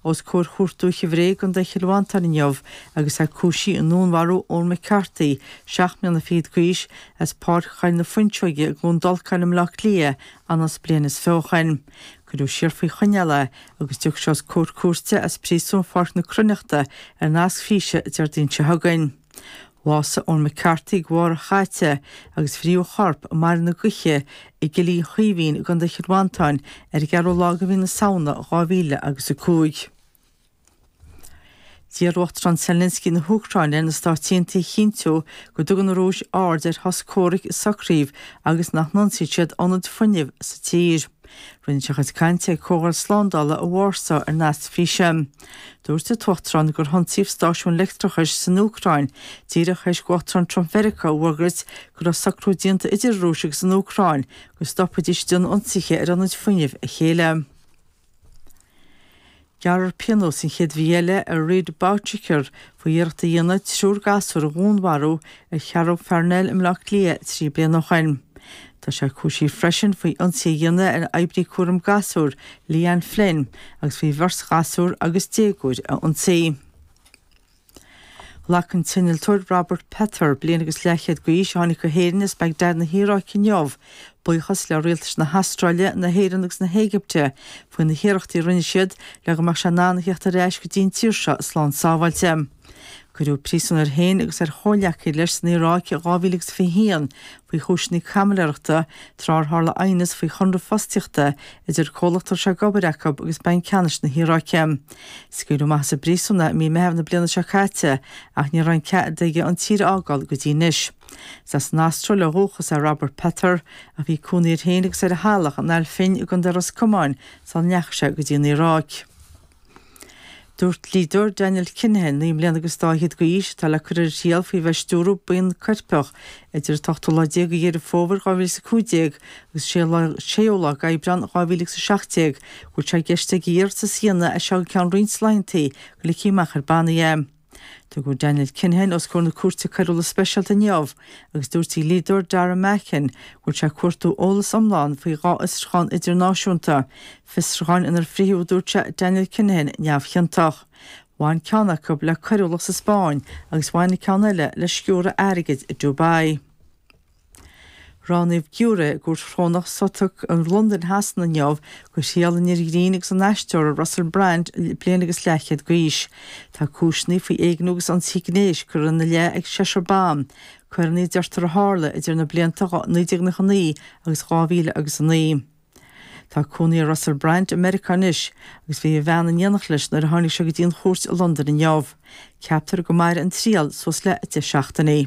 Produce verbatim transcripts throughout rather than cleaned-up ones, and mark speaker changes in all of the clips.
Speaker 1: os comhair Chúirt Dúiche Bhré i gContae Chill Mhantáin inniu agus é cúisithe i ndúnmharú Eoin McCarthy, seacht mbliana fichead d'aois, as Páirc Choill na Fuinseoige i gCluain Dolcáin i mBleá Cliath anuas bliain is fiche ó shin. Cuireadh siar faoi choinneáil é agus tiocfaidh sé os comhair cúirte as príosún Pháirc na Cruithneachta ar nasc físe Déardaoin seo chugainn. Bhásaigh Eoin McCarthy an Mháirt seo caite agus fríodh a chorp i mBaile na Gaoithe i gCillín Chaoimhín i gContae Chill Mhantáin ar an gceathrú lá de mhí na Samhna dhá mhíle agus a cúig. D'iarr Uachtarán Zelensky na hÚcráine ar na Stáit Aontaithe a chinntiú go dtugann an Rúis aird ar shos comhraic sa Chív agus nach n-ionsaíonn siad ionaid fuinnimh sa tír. Rinne sé a chuid cainte ag Comhdháil Slándála i Warsaw ar nasc físe. Dúirt an tUachtarán gur hionsaíodh stáisiún leictreachais san Úcráin díreach théis d'Uachtarán Trump Mheiriceá a fhógairt go raibh socrú déanta idir an Rúis agus an Úcráin go stopfaidís ag déanamh ionsaithe ar ionaid fuinnimh a chéile. Gearrfar pionós an chéad mhí eile ar Reid Bouchier faoi iarracht a dhéanamh triúr gasúr a dhúnmharú ar Cheathrú Pharnell i mBleá Cliath trí bliana ó shin. Tá sé cúisithe freisin faoi ionsaí a dhéanamh ar oibrí cúram gasúr Leanne Flynn agus faoi bheirt ghasúr agus déagóir a ionsaí. Ghlac an t-innealtóir Robert Pether, bliain agus leathchéad d'aois, a tháinig go hÉirinn as Bagdad na hIaráice inniu, buíochas le rialtais na hAstráile, na hÉireann agus na hÉigipte faoi na hiarrachtaí a rinne siad le go mbeadh sé in ann a theacht ar ais go dtí an tír seo slán sábháilte. Cuireadh príosún air féin agus ar chomhghleacaithe leis san Iaráic i dhá mhíle agus fiche haon faoi chúiseanna caimiléireachta tráth ar tharla aighneas faoi chonradh fostaíochta idir comhlacht a raibh sé ag obair acu agus Banc Ceannais na hIaráice. Scaoileadh amach as an bpríosún é i mí Meitheamh na bliana seo caite ach ní raibh aon cead aige an tír a fhágáil go dtí anois. Is as an Astráil ó dhúchas é Robert Pether ach bhí cónaí air féin agus ar a theaghlach in Ail Finn i gContae Ros Comáin sula ndeachaigh sé go dtí an Iaráic. Dúirt dlíodóir Daniel Kinahan, naoi mbliana agus dá fhichead d'aois, atá le cur ar a thriail faoi bheith ag stiúradh buíon coirpeach idir an t-ochtú lá déag de Dheireadh Fómhair dhá mhíle is a cúig déag agus séú lá d'Aibreán dhá mhíle agus a seacht déag, go bhfuil sé i gceist aige iarratas a dhéanamh as seo go ceann roinnt laethanta go ligfí amach ar bannaí é. Tugadh Daniel Kinahan os comhair na Cúirte Coiriúla Speisialta inniu agus dúirt a dhlíodóir Dara Mackin go bhfuil sé ag cuartú eolas iomlán faoi dhá fhiosrúchán idirnáisiúnta, fiosrúcháin inar frítheadh, a dúirt sé, Daniel Kinahan neamhchiontach. Bhain ceann acu le coiriúlacht sa Spáinn agus bhain an ceann eile le sciúradh airgid i Dubai. Roghnaíodh giúiré i gCúirt Chrónach Southwark i Londain Shasana inniu do thriail an fhir ghrinn agus an aisteora Russell Brand, bliain agus leathchéad d'aois. Tá cúiseanna faoi éigniú agus ionsaí gnéis curtha ina leith ag seisear ban, coireanna a deirtear a tharla idir na blianta naoi déag nócha naoi agus dhá mhíle agus a naoi. Tá cónaí ar Russell Brand i Meiriceá anois agus bhí a bhean in éineacht leis nuair a tháinig sé go dtí an chúirt i Londain inniu. Ceaptar go mairfidh an triail suas le deich seachtainí.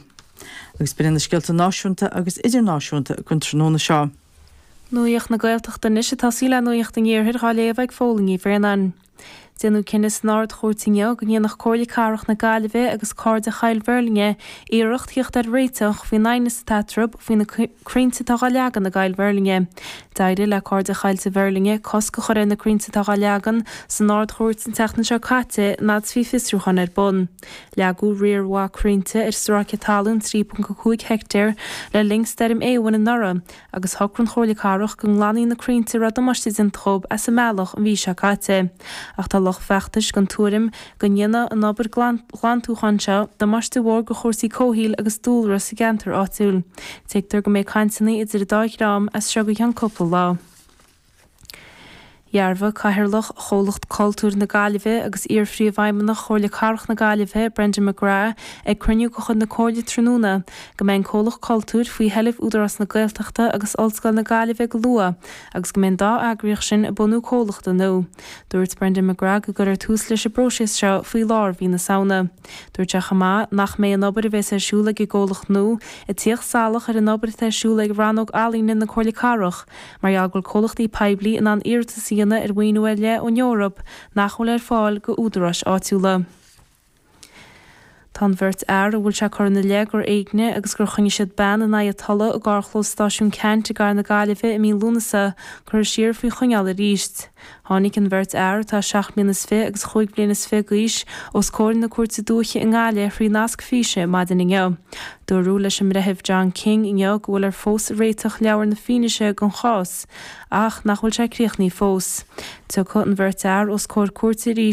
Speaker 1: Agus b'in iad na scéalta náisiúnta agus idirnáisiúnta don tráthnóna seo.
Speaker 2: Nuacht na Gaeltachta anois ag tosaí le Nuacht an Iarthair dhá léamh ag Fódhla Ní Bhraonáin. Déanadh cinneadh san Ard-Chúirt inniu go ndéanfadh Comhairle Cathrach na Gaillimhe agus Cairde Choill Mheirlinne iarracht theacht ar réiteach faoin aighneas atá eatarthu faoi na crainnte atá dhá leagan i gCoill Mheirlinne. D'éirigh le Cairde Choillte Mheirlinne cosc a chur ar na crainnte atá dhá leagan san Ard-Chúirt an tseachtain seo caite an fhad is bhí fiosrúchán ar bun. Leagadh riar mhaith crainnte ar stráice talún trí ponc a cúig heictéar le linn Stoirm Éowyn anuraidh agus shocraigh an Chomhairle Cathrach go nglanfaí na crainnte a raibh damáiste déanta dhóibh as an mbealach an mhí seo caite. Ach tá lucht feachtais den tuairim go ndéanfaidh an obair ghlantúcháin seo damáiste mhór do chúrsaí comhshaoil agus dúlra sa gceantar áitiúil. Tuigtear go mbeidh cainteanna idir an dá dhream as seo go ceann cúpla lá. Dhearbhaigh Cathaoirleach Chomhlacht Cultúir na Gaillimhe agus iar-phríomhfheidhmeannach Chomhairle Cathrach na Gaillimhe, Brendan McGrath, ag cruinniú de chuid na Comhairle tráthnóna go mbeidh an Comhlacht Cultúir faoi sheilbh Údarás na Gaeltachta agus Ollscoil na Gaillimhe go luath agus go mbeidh an dá eagraíocht sin ag bunú comhlachta nua. Dúirt Brendan McGrath go gcuirfear tús leis an bpróiseas seo faoi lár mhí na Samhna. Dúirt sé chomh maith nach mbeidh an obair a bheas ar siúl ag an gcomhlacht nua ag tíocht salach ar an obair atá ar siúl ag Rannóg Ealaíne na Comhairle Cathrach mar gheall go bhfuil comhlachtaí poiblí in ann iarratas a dhéanamh ar mhaoiniú ar leith ón Eoraip nach bhfuil ar fáil go údaráis áitiúla. Tá an bheirt fhear a bhfuil sé curtha ina leith gur éignigh agus gur choinnigh siad bean in aghaidh a tola i gcarrchlós stáisiún Ceannt i gcathair na Gaillimhe i mí Lúnasa curtha siar faoi choinneáil arís. Tháinig an bheirt fhear, atá seacht mbliana is fiche agus chúig bliana is fiche d'aois, os comhair na Cúirte Dúiche i nGaillimh thrí nasc físe maidin inniu. Dúradh leis an mBreitheamh John King inniu go bhfuiltear fós ag réiteach leabhar na fianaise don chás ach nach bhfuil sé críochnaithe fós. Tiocfaidh an bheirt fhear os comhair cúirte arís